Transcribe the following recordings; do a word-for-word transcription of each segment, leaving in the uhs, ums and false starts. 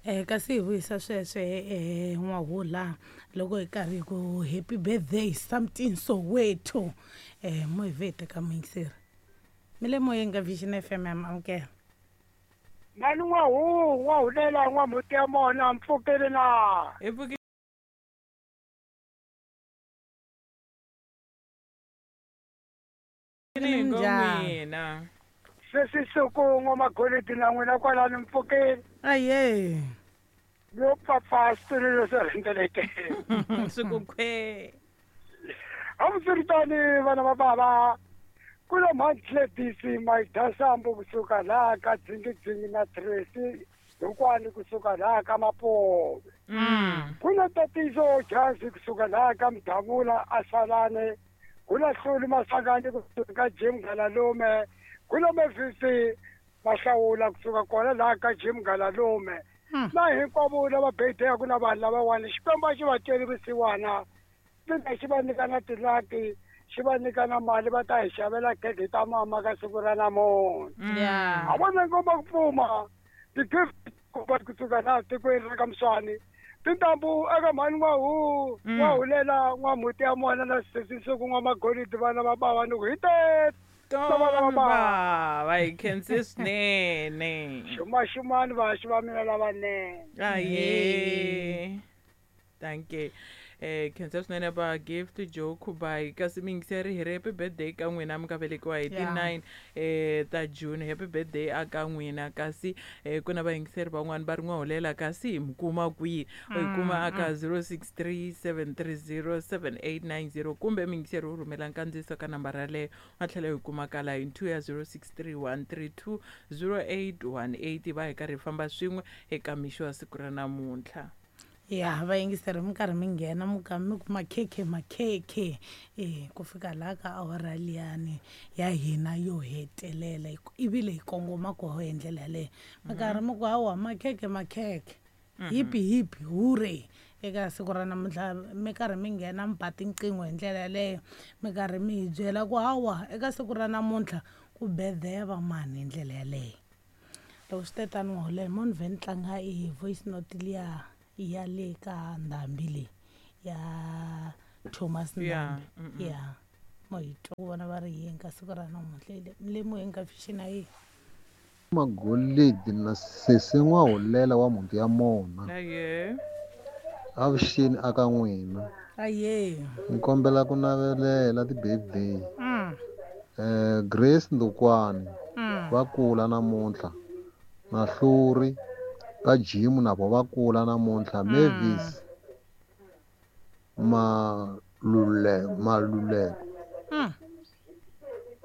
Eh kasi hi vuyisa sweswe eh n'wahula loko hi karhi hi ku happy birthday something Soweto. Eh mo hi vete ka muyingiseri. Mi le moyeni ka Vision F M ya amukela. Mani n'wahu n'wahulela n'wamhuti ya mona mpfukeli na. Hi pfukile Minjhani? Sesi siku n'wamagolidi na n'wina kwalani mpfukeli. Aye. Yo papa swilo leswi rhendzeleke. Swi ku khwe. Hambiswiritano vana va bava ku na Mantledisi Mayidasambu kusuka laha ka Dzingidzingi na Tracy hinkwani kusuka laha ka Mapove. Ku na Tatiso Jazi kusuka laha ka Mdavula Asalane. Ku na Hluli Masangani kusuka ka Jim Galalume. Ku na Mevisi Mahlawula kusuka kona laha ka Jim Galalume. Na hinkwavo lava birthday-aku na vanhu lavawani Xikwembu a xi va tweli vusiwana. Mina xi va nyika na tilaki, xi va nyika na mali va ta hi xavela khekhe ta mama ka siku ra namuntlha. Yeah. A vona ngoma ku pfuma ti-gift kusuka laha tikweni ra ka Mswani. Tintambu eka mhani n'wahu n'wahulela n'wamhuti ya mona na sesi siku n'wamagolidi vana va bava ni ku hi tete. Tona bava hi khense swinene. Xumaxumani vaxi va mina lavanene. Aye. Thank you. Eh khensa swinene va Gift Joe Kubai kasi miyingiseri hi ri happy birthday ka n'wina mi nga velekiwa hi ti nine eh ta June. Happy birthday aka n'wina kasi eh ku na vayingiseri van'wani va ri n'wahulela kasi hi mi kuma kwihi? U hi kuma aka zero six three seven three zero seven eight nine zero kumbe miyingiseri u rhumela nkandziyiso ka nambara yaleyo a tlhela hi kuma ka line two ya zero six three one three two zero eight one eight va hi karhi hi famba swin'we eka mixo wa siku ra namuntlha. Ya vayingiseri mi karhi mi nghena mi ka mi ku makhekhe makhekhe eh ku fika laha ka awara liyani ya hina yo hetelela ivile hi kongoma koho hi ndlela yaleyo mi karhi mi ku hawa makhekhe makhekhe hipi hipi hure eka siku ra namuntlha mi karhi mi nghena mi ba tinqingho hi ndlela yaleyo mi karhi mi hi byela ku hawa eka siku ra namuntlha ku birthday va mani hi ndlela yaleyo. Loko swi te tani n'wahulela mo ni vhe ni tlanga i voice note liya ya le ka ndhambi leyi ya Thomas Ndhambi. Ya mo hi twa ku vona va ri yini ka siku ra namuntlha le moyeni ka Vision a yi Magolidi na sesi n'wahulela wa mhuti ya mona. Aye. Avuxeni aka n'wina. Aye. Ni kombela ku navelela ti-birthday. Mm. Eh Grace Ndukwani Mm. va kula namuntlha. Na Hluri ka Jim na vo va kula namuntlha. Mavis Malule Maluleko Mm.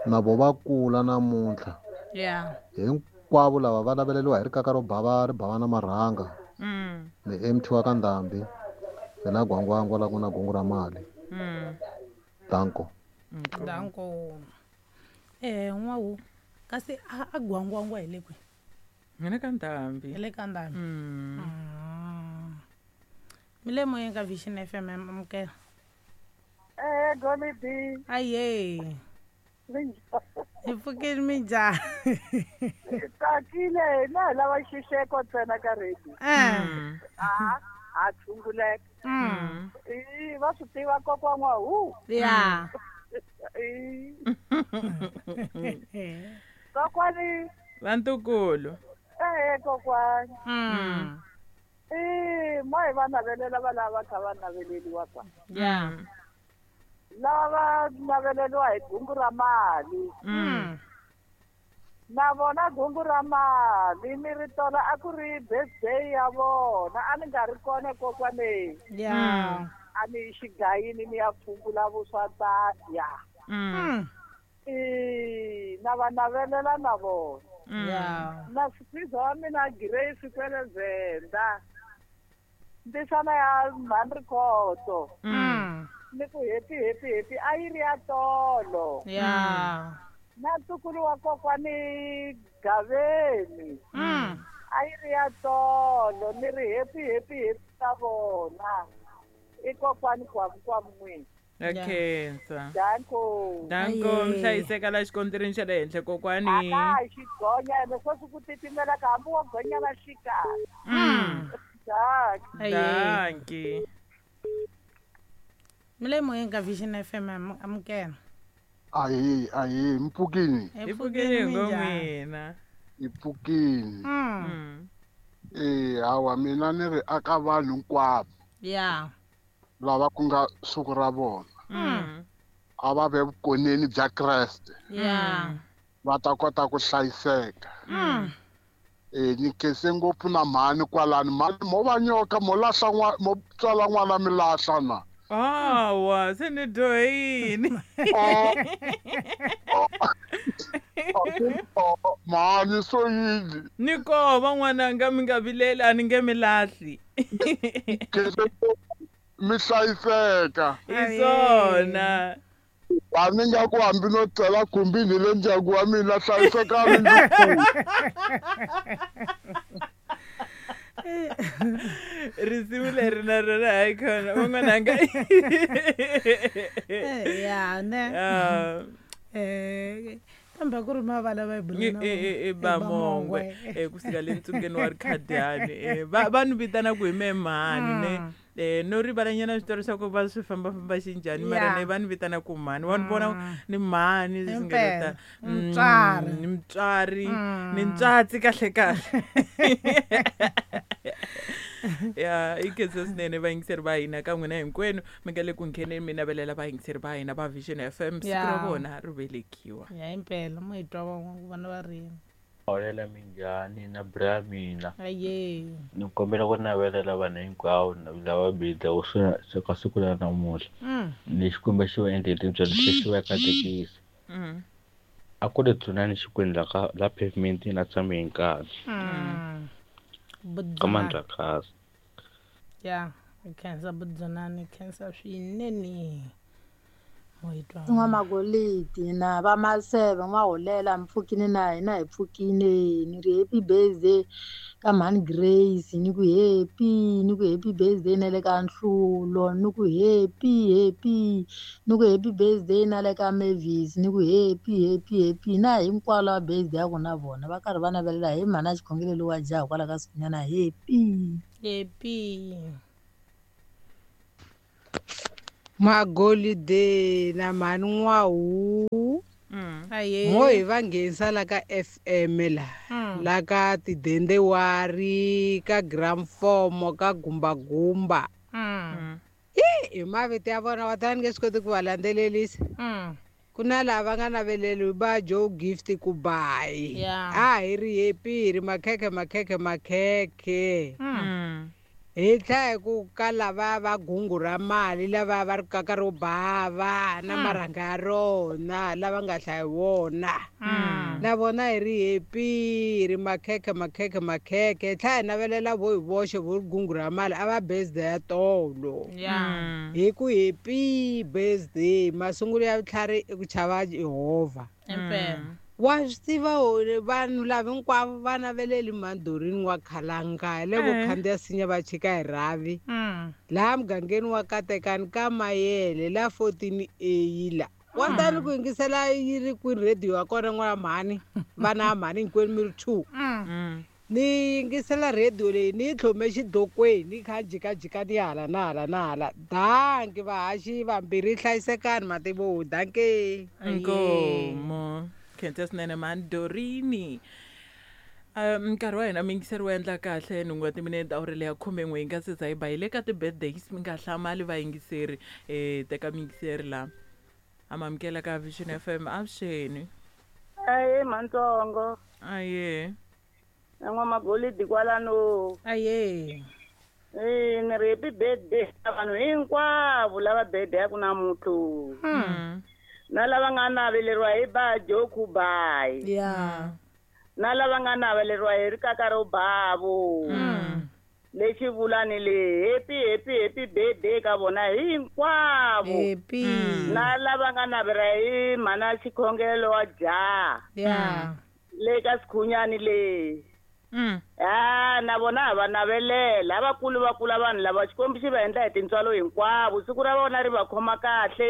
na vo va kula namuntlha. Yeah. Hinkwavo lava va naveleriwa hi rikaka ro bava ri bava na marhanga. Mm. Ni M T wa ka Ndhambi. Hi la Gwangwangwa la ku na gungu ra mali. Mm. Danko. Danko. Eh n'wahu kasi a a Gwangwangwa hi le kwihi? Hi le ka Ndhambi. Hi le ka Ndhambi. Mm. Mm. Mi le moyeni ka Vision F M amukela. Eh Golidi. Aye. Hi pfukile minjhani? Tsakile hina hi lava xixeko ntsena ka radio. Eh. A ha tshunguleka. Mm. I va swi tiva kokwa n'wahu. Ya. I kokwani Vantukulu. Eh kokwani. Mm. I mo hi va navelela va lava kha va naveleliwa kwa. Ya. Lava naveleliwa hi gungu ra mali. Mm. Na vona gungu ra mali ni ri tola a ku ri birthday ya vona a ni nga ri kona kokwaneni. Ya. A ni xigayini ni ya pfungula vuswa ta ya. Mm. I na va navelela na vona. Ya. Na swiza wa mina Grace kwele Venda. Ndisana ya Mhandrikhoto. Mm. Ni ku happy happy happy a yi ri ya tolo. Ya. Na ntukulu wa kokwani Gaveni. Mm. A yi ri ya tolo ni ri happy happy happy ta vona. I kokwani kwamu kwamu n'wini. Khensa. Danko. Danko mhlayiseka la xikontirini xa le henhla kokwani. Aka xigonya ene sweswi ku titimela ka hambi wo gonya va xikaya. Mm. Danki. Mle moyeng ka Vision F M amukela. Ayi ayi mpfukini. Mpfukini ngomina. Ipfukini. Mm. Eh hawa mina ni ri aka vanhu hinkwavo. Yeah. Lava ku nga siku ra vona. Mm. A va ve vukoneni bya Kreste. Yeah. Va ta kota ku hlayiseka. Mm. Eh ni khense ngopfu na mhani kwalani mhani mo va nyoka mo lahla n'wana mo tswala n'wana mi lahla na. Awa se ni dyohini. Mhani so yini? Ni kova n'wananga mi nga vileli a ni nge mi lahli. Mi hlayiseka. Hi swona. A ni nga ku hambi no tsela khumbini le ndyangu wa mina hlayisekani ndzi. Risimu leri na rona hayi khona van'wananga. Ya ne. Eh kambe ku ri mavala va i i Bamongwe eh kusuka le ntsungeni wa Rikhadiyani eh va va ni vitana ku hi me mhani ne eh no rivalanyana switori swa ku va swi fambafamba xinjhani mara ne va ni vitana ku mhani wa ni vona ni mhani leswi nga ta mutswari ni mutswari ni ntswatsi kahle kahle. Ya i khensa swinene vayingiseri va hina ka n'wina hinkwenu mi nga le ku ngheneni mi navelela vayingiseri va hina va Vision F M siku ra vona ri velekiwa. Ya impela mo hi twa van'wana vana va rini. Holela minjhani na bra mina. Aye. Ni kombela ku navelela vanhu hinkwavo lava birthday ka siku ra namuntlha. Ni Xikwembu xi va endlele tintswalo xi va katekisa. A ku ri dzunani Xikwembu la ka la pavement na tshame hi nkarhi. Ka Mandlakazi. Ya, khensa Budzunani, khensa swinene. N'wamagolidi na va Maseve n'waholela mpfukini na hina hi pfukini ni ri happy birthday ka mhani Grace ni ku happy ni ku happy birthday na le ka Nhlulo ni ku happy happy ni ku happy birthday na le ka Mavis ni ku happy happy happy na hinkwavo lava birthday ya ku na vona va karhi va navelela hi mhani a xikhongelo lowa jaha kwala ka sikunyana happy happy. Magolide na mhani N'wahu mo hi va nghenisa la ka F M la la ka tidendewari ka gramfomo ka gumbagumba hi mavito ya vona wa ta ni nge swi koti ku va landzelelisa. Ku na lava nga naveleli va Joe Gift ku bayi a hi ri happy hi ri makhekhe makhekhe makhekhe. Hi tlhela hi ku ka lava va gungu ra mali lava va ri kaka ro bava na marhanga ya rona lava nga hlayi wona na vona hi ri happy hi ri makhekhe makhekhe makhekhe. Hi tlhela hi navelela vo hi voxe vo ri gungu ra mali a va birthday ya tolo hi ku happy birthday masungulo ya vutlhari i ku chava Yehovha. Wa swi tiva vanhu lava hinkwavo va naveleli Mandorini wa Khalanga le vo khandziya sinya va chika hi rhavi laha mugangeni wa Katekani ka Mayele la fourteen A la wa tani ku yingisela yi ri kwini radio ya kona n'wana mhani vana mhani hinkwenu mi ri two ni yingisela radio leyi ni yi tlhome xidokweni ni kha jikajika ni hala na hala na hala. Danki vahaxi vambirhi hlayisekani mativo danki. Inkomo. Khensa swinene Mandorini. Nkarhi wa hina miyingiseri wu endla kahle nhungu wa timinete awuri leya khumen'we hi nga se za hi ba hi le ka ti-birthdays mi nga hlamali vayingiseri um teka miyingiseri la amamukela ka Vision F M avuxeni. Aye mantsongo. Aye. N'wamagolidi kwalano. Aye. Eh ni ri happy birthday ka vanhu hinkwavo lava birthday ya ku namuntlha. Na lava nga naveleriwa hi ba Joe Kubai. Yeah. Na lava nga naveleriwa hi rikaka ro bavo. Lexi vulani le happy happy happy birthday ka vona hinkwavo. Happy. Na lava nga navela hi mhana xikhongelo wa jaha. Yeah. Le ka Sikhunyani le. Mm. Ah Ya na vona ha va navelela lavakulu va kula vanhu lava Xikwembu xi va endla hi tintswalo hinkwavo siku ra vona ri va khoma kahle.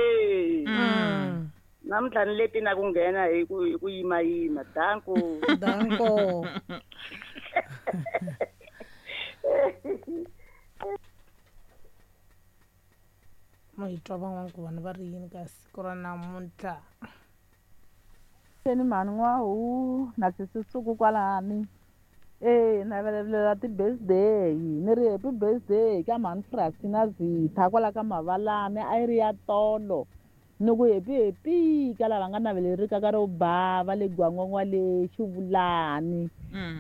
Namuntlha ni leti na ku nghena hi ku hi ku yimayima. Danko. Danko. Mo hi twa van'wana ku vanhu va ri yini ka siku ra namuntlha. Ni mhani N'wahu na sisisuku kwalani. Eh na velelela ti-birthday ni ri happy birthday ka mhani Frasi na Zitha kwala ka Mavalani a yi ri ya tolo. Ni ku happy happy ka lava nga navelerika ka ro bava le Gwangwangwa le Xivulani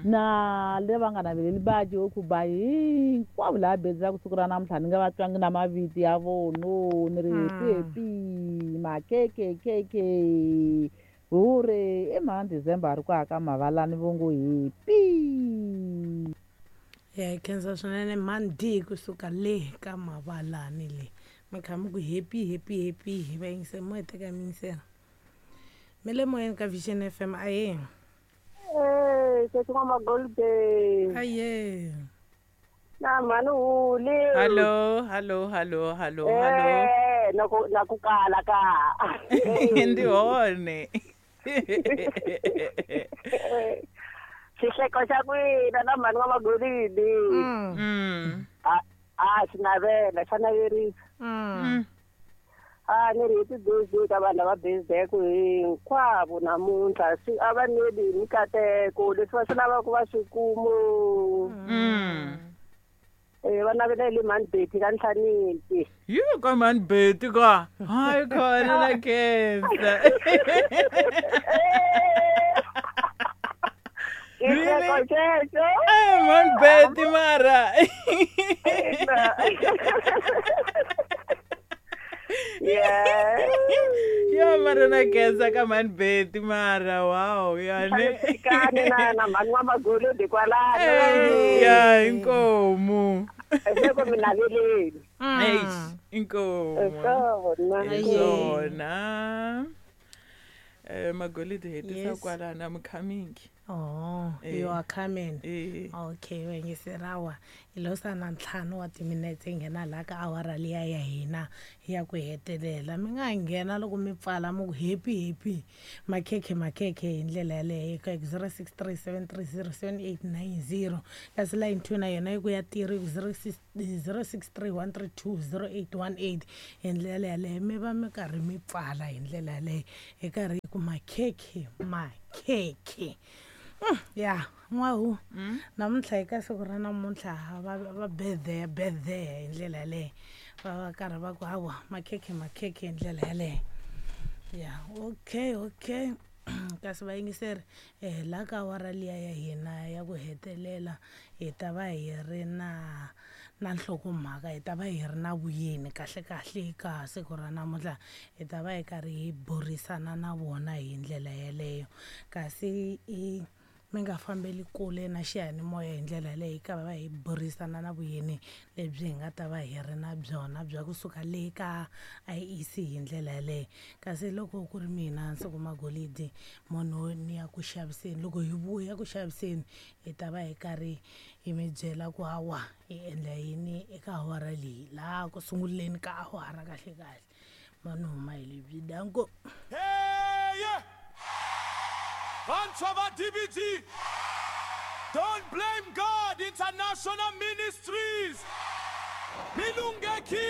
na le va nga naveleli baji yo ku ba hinkwavo laha bedzaku siku ra namuntlha ni nga va twangi na mavito ya vono ni ri happy happy makeke keke hure i mhani December ri ku aka Mavalani vo ngo happy. Ya hi khensa swinene mhani D kusuka le ka Mavalani le. Mi kha mi ku happy happy happy hi va yingisela mo hi teka mi yingisela. Mi le moyeni ka Vision F M aye. Eh sesi N'wa Magolide. Aye. Na mhani Huli. Hallo hallo hallo hallo hallo. Eh na ku na ku kala ka. Ndi hone. Xihleko xa n'wina na mhani N'wa Magolide. Mm. A a xi navela xa naverisa. Mm. A ni ri happy birthday ka vanhu lava birthday-ku hinkwavo namuntlha swi a va neli hi mikateko leswi va swi lavaka va swi kumu. Eh va navelele mhani Betty ka Nhlanisi. Yo ka mhani Betty ka. Hayi khona na khensa. Really? Eh mhani Betty mara. Yeah. Ya mara na khensa ka mhani Betty mara wow ya ne. Kani na na mhani N'wa Magolide kwalano. Ya inkomu. Loko mi naveleli. Eish inkomu. Swona. Swona. Eh Magolide hetisa kwalana I'm coming. Oh, eh. You are coming. Eh. Okay, wengiserawa. Ilosa na ntlhanu wa timinetse nghena la ka awara liya ya hina ya ku hetelela. Mi nga nghena loko mi pfala mi ku happy happy. Makhekhe makhekhe hi ndlela yaleyo ka zero six three seven three zero seven eight nine zero. Kasi line two na yona yi ku ya tirhi zero six three one three two zero eight one eight. Hi ndlela yaleyo mi va mi karhi mi pfala hi ndlela yaleyo hi karhi ku makhekhe makhekhe. Ya N'wahu namuntlha hi ka siku ra namuntlha va va birthday birthday hi ndlela yaleyo va va karhi va ku hawa makhekhe makhekhe hi ndlela yaleyo. Ya okay okay kasi vayingiseri eh la ka awara liya ya hina ya ku hetelela hi ta va hi ri na na nhlokomhaka hi ta va hi ri na vuyeni kahle kahle ka siku ra namuntlha hi ta va hi karhi hi burisana na vona hi ndlela yeleyo kasi i mi nga fambeli kule na xiyanimoya hi ndlela leyi ka va hi burisana na vuyeni lebyi hi nga ta va hi ri na byona bya kusuka le ka I E C hi ndlela yaleyo kasi loko ku ri mina Nsuku Magolide munhu ni ya ku xaviseni loko hi vuya ku xaviseni hi ta va hi karhi hi mi byela ku hawa hi endla yini eka awara leyi laha ku sunguleni ka awara kahle kahle munhu huma hi lebyi danko. Hey, yeah. Vantshwa va D B G, Don't Blame God International Ministries, Milungeki.